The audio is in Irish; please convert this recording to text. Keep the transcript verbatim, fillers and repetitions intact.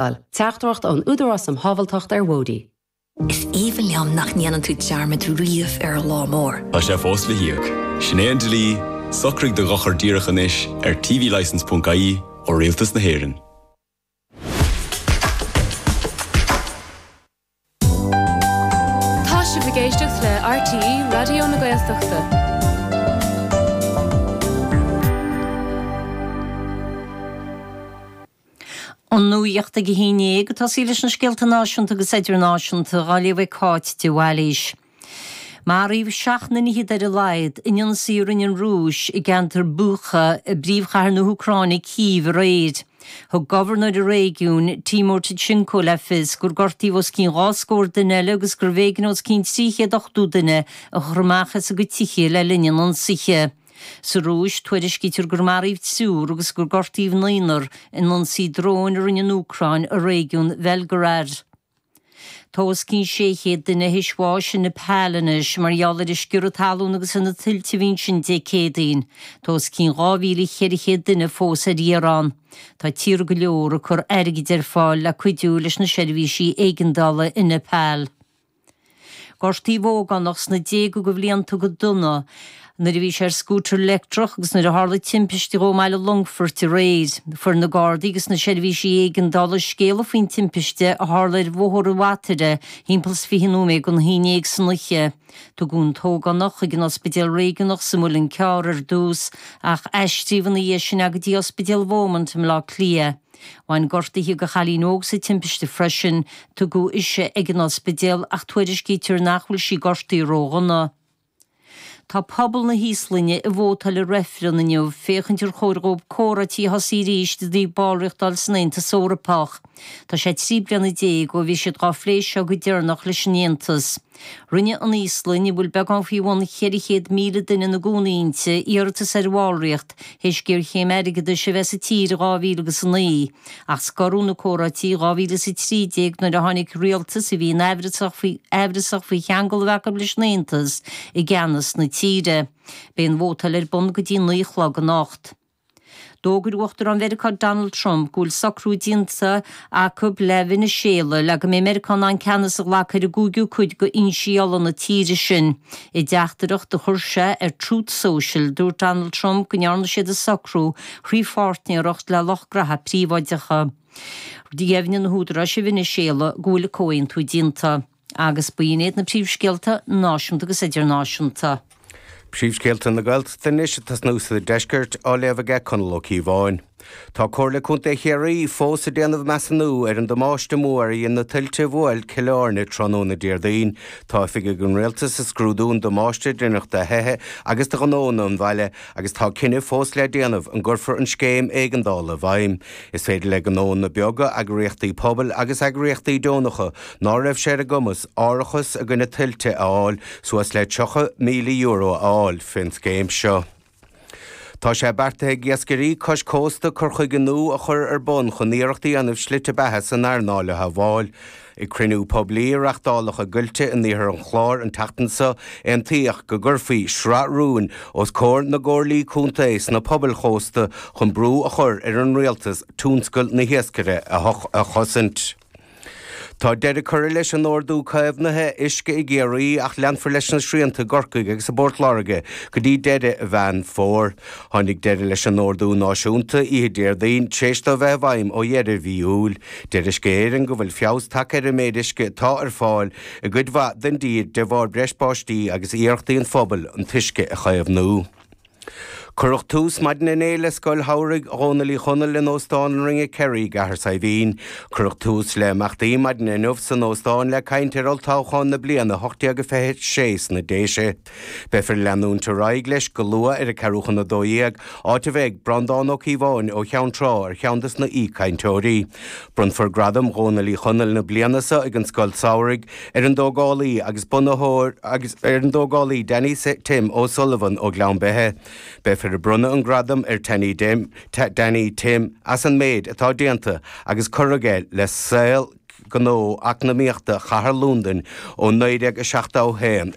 Teachtaireacht ón Údarás um Shábháilteacht ar Bhóithre. Is aoibhinn liom nach ndéanann tú dearmad riamh ar an lá mór. Tá sé fós le híoc. Sin é an dlí, socraigh do dhochar díreach anois ar tvlicence.ie ó Rialtas na hÉireann. Tá sibh ag éisteacht le RTÉ Raidió na Gaeltachta. An nuacht ag a haon déag ag tosaí leis na scéalta náisiúnta agus idirnáisiúnta á léamh ag Cáit de Bhailís. Maraíodh seacht nduine fhichead ar a laghad in ionsaí a rinne an Rúis i gceantar Bucha i bpríomhchathair na hÚcráine Cív aréir. Thug gobharnóir an réigiúin, Timur Tkachenko le fios gur gortaíodh os cionn dhá scór duine eile agus gurbh éigean os cionn trí chéad ochtó duine a chur amach as a gcuid tithe le linn an ionsaithe. Sa Rúis, tuairiscítear gur maraíodh triúr agus gur gortaíodh naonúr in ionsaí dróin a rinne an Úcráin i réigiún Bhelgorad. Tá os cionn sé chéad duine théis bháis i Nepal anois mar gheall ar an sciorradh talún agus ar na tuilte a bhí ansin Dé Céadaoin. Tá os cionn dhá mhíle cheithre chéad duine fós ar iarraidh. Tá tíortha go leor ag cur airgid ar fáil le cuidiú leis na seirbhísí éigeandála i Nepal. Gortaíodh ógánach sna déaga de bhlianta go dona nuair a bhí sé ar scútar leictreach agus nuair a tharla timpiste dhó i mbaile Longfoirt aréir. Fuair na Gardaí agus na seirbhísí éigeandála scéala faoin timpiste a tharla ar Bhóthar an Bhataire thimpeall is fiche nóiméad don haon déag san oíche. Tugadh an t-ógánach chuig an ospidéal réigiúnach sa Mhuileann Cearr ar dtús ach aistríodh ina dhiaidh sin é go dtí Ospidéal Beaumont i mBleá Cliath. Bhain gortuithe do chailín óg sa timpiste freisin, tugadh ise ag an ospidéal ach tuairiscítear nach bhfuil sí gortaithe ródhona. Tá pobal na hÍoslainne ag vótáil i reifreann inniu féachaint ar chóir dhóibh comhráití a thosaí arís i dtaobh ballraíocht a fháil san Aontas Eorpach. Tá sé trí bliana déag ó bhí siad dhá phlé seo go deireanach leis an Aontas. Rinne an Íoslainn, a bhfuil beagán faoi bhun cheithre chéad míle duine ina gcónaí inti, iarratas ar bhallraíocht théis géarchéim airgeadais a bheith sa tír i dhá mhíle agus a naoi, ach scoradh na comhráití i dhá mhíle is a trí déag nuair a tháinig rialtas a bhí aimhreasach faoi aimhreasach faoi cheangal a bheith acu leis an Aontas i gceannas na tíre. Beidh an vótáil ar bun go dtí naoi a chlog anocht. D'fhógair Uachtarán Mheiriceá Donald Trump go bhfuil socrú déanta acu le Veiniséala le go mbeidh Meiriceá in ann ceannas a ghlacadh ar an gcúigiú cuid d'fhoinsí ola na tíre sin. I dteachtaireacht a chuir sé ar Truth Social, dúirt Donald Trump go ndearna siad an socrú thrí pháirtnéireacht le lucht graithe príobháideacha. Dheimhnigh na húdaráis i Veiniséala go bhfuil an comhaontú déanta. Agus b'in iad na príomhscéalta náisiúnta agus idirnáisiúnta. Príomhscéalta na Gaeltachta anois ag tosnú sa deisceart á léamh aige Conall Ó Cíobháin. Tá Comhairle Contae Chiarraí fós ag déanamh measúnú ar an damáiste mór a dhein na tuilte a bhuail Cill Airne tráthnóna Déardaoin. Tá oifigigh an Rialtais ag scrúdú an damáiste a deineadh do thithe agus do ghnóanna an bhaile agus tá cinneadh fós le déanamh an gcuirfear an scéim éigeandála i bhfeidhm. Is féidir le gnóanna beaga, eagraíochtaí pobail agus eagraíochtaí deonacha ná raibh sé ar a gcumas árachas i gcoinne tuilte a fháil suas le tríocha míle euro a fháil fén scéim seo. Tá sé beartaithe ag iascairí cois cósta cur chuige nua a chur ar bun chun iarracht a dhéanamh slite beatha san earnáil a shábháil. Ag cruinniú poiblí a reáchtáladh i gCoillte in iarthar an Chláir an tseachtain seo, aontaíodh go gcuirfí sraith rúin os comhair na gcomhairlí contae sna pobail chósta chun brú a chur ar an rialtas tionscal na hiascaire a chosaint. Tá deireadh curtha leis an ordú caomhnaithe uisce i gCiarraí ach leanfar leis na srianta i gCorcaigh agus i bPort Láirge go dtí deireadh Mheán Fómhair. Tháinig deireadh leis an ordú náisiúnta oíche Déardaoin tar éis dó a bheith i bhfeidhm ó dheireadh mhí Iúil. Deir Uisce Éireann go bhfuil feabhas tagtha ar an méid uisce atá ar fáil i gcuid mhaith den dtír de bharr breis báistí agus iarrachtaí an phobail an t-uisce a chaomhnú. Cuireadh tús maidin inné le Scoil Shamhraidh Dhónaill Uí Chonaill in Óstán an Ringe Kerry i gCathair Saidhbhín. Cuireadh tús le himeachtaí maidin inniu san óstán le caint ar olltoghchán na bliana ocht déag fiche sé sna Déise. Beifear ag leanúint ar aghaidh leis go luath ar a ceathrú chun a dó dhéag, áit a bheidh Breandán Ó Cíobháin ó Cheann Trá ar cheann des na aoichainteoirí. Bronnfar Gradam Dhónaill Uí Chonaill na bliana seo ag an Scoil Samhraidh ar an dtógálaí agus bunaitheoir agus ar an dtógálaí Danny Tim O'Sullivan ó Ghleann Beithe. Beifear ag bronnadh an gradam ar Danny Tim as an méid atá déanta agus curtha aige le saol gnó eacnamaíochta chathair Londain ó naoi déag a seachtó a haon.